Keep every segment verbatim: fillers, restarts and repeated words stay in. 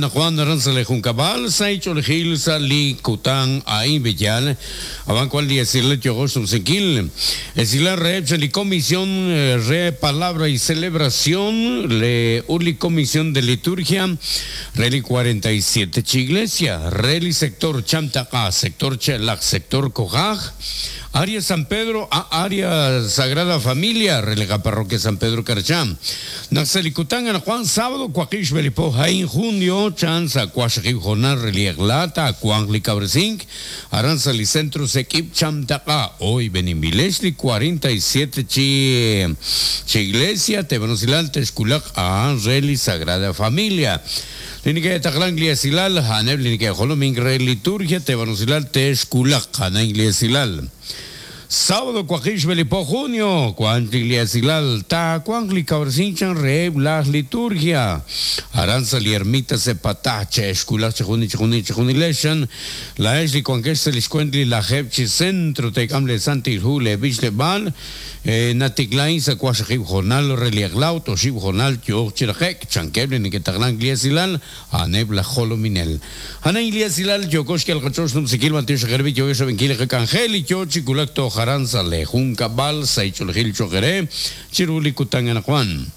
Juan Saichol Sali Kutan Ain Villal Aban cual día Esila Re Comisión Re Palabra y Celebración Le Uli Comisión de Liturgia Reli cuarenta y siete Iglesia Reli Sector Chamtaca Sector Chelac Sector Cojaj Área San Pedro, a Área Sagrada Familia, Relega Parroquia San Pedro Carchán. Naxelicután, en Juan Sábado, Cuaquish Belipo, Jaén, Junio, Chanza, Cuaxaquib, Jonar, Reliaglata, Cuangli Cabresink, Aranza, Licentro, Sequip, Chamtaca, hoy Benimbilesli, cuarenta y siete Chi, Chi Iglesia, Tebanocilal, Texculac, a Reli Sagrada Familia. Linike Taqlan Gliasilal, Haneb, Linike Joloming, Re Liturgia, Tebanocilal, Texculac, Hanan Gliasilal. Sábado, Cuaquish, Belipo, junio, Cuantliasilal, Ta, Cuangli, Cabresinchan, Re, Blas, Liturgia, Aranza, Liermita, Sepatache, Esculache, Juni, Juni, Juni, Leshan, La Esli, Cuanqueste, Liscuentli, La Jepchi, Centro, Tecamle, Santi, Jule, Bichle, Bal, Naticlain, Sacuashajib, Jornal, Reliaglau, Toshib, Jornal, Tioch, Chirajek, Chanqueble, Niquetaglan, Gliasilal, Anebla, Jolominel. Ana Gliasilal, Yokoshki, Alcachosh, Numsikil, Matios, Gerbi, Yogesha, Benquile, Cangel, Yochi, Culacto, Jaranza, Lejunca, Balsa, Icholgil, Choqueré, Chiruli, Cutangana, Juan.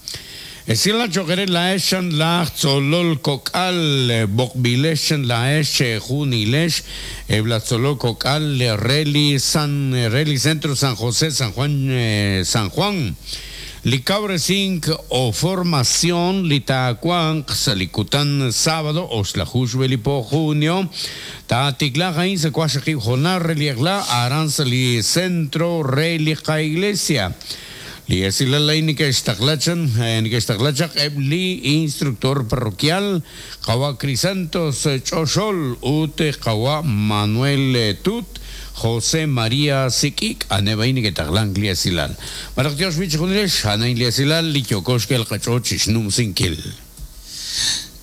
Esila Choqueré, la Eshan, la Zolol, Cocal, Bokbileshan, la Eshe, Junilesh, Ebla Zolol, Cocal, Reli, San, Reli, Centro, San José, San Juan, eh, San Juan. Licabre cinc o formación Litacuan, Salicután sábado, Oslajush Belipo junio, Taticla Jain Secuaxaquib Jonar Reliagla, Aranzali Centro Relica Iglesia. Liesilalainica Ixtaclachan, Ixtaclachak, Ebli, instructor parroquial, Kawa Crisantos Choxol, Ute Kawa Manuel Tut, José María Sikik, Anebaini Getaglan Gliasilal. Maraktios Bichunilesh, Hanain Gliasilal, Lichokoshkel Kachochish Num Sinkil.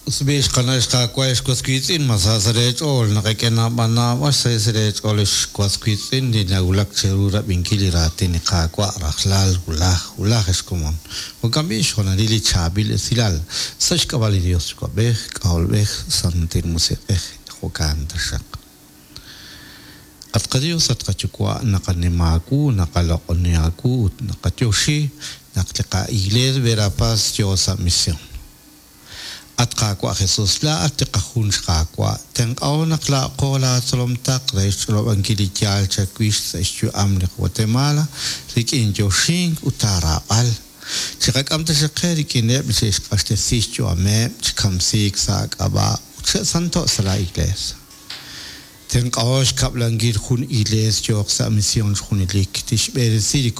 Usbish Kanashka Quash Masasarech all Nakakena Bana Wasasarech Olish Quasquitzin, Dinagulak Cherura Binkiliratin Kakwa, Rahlal, Ulah, Ulah Escomon. Ocambish, Honarili Chabil, Silal, Sashkavali Dios, Quabech, Kaolbech, Santir Musech, Hokantashak. Atqadios atqachukwa naqanimaku naqalaqoniaku naqatyoshi naqliqa iglesia Verapaz yosa misión. Atqaqwa Jesús la atqajun xqaqwa tenqaw naqla qola tzolomtaq reixlob ankilityal chakwish sexyu amli Guatemala rikin yoshin utarabal chiqak'amta xaqe rikineb xixq'axtesixchu ameb chikamsik saq'aba santo sala iglesia. Tenqaosh kablangir jun iglesia yoq sa misión junilik tixb'eresiri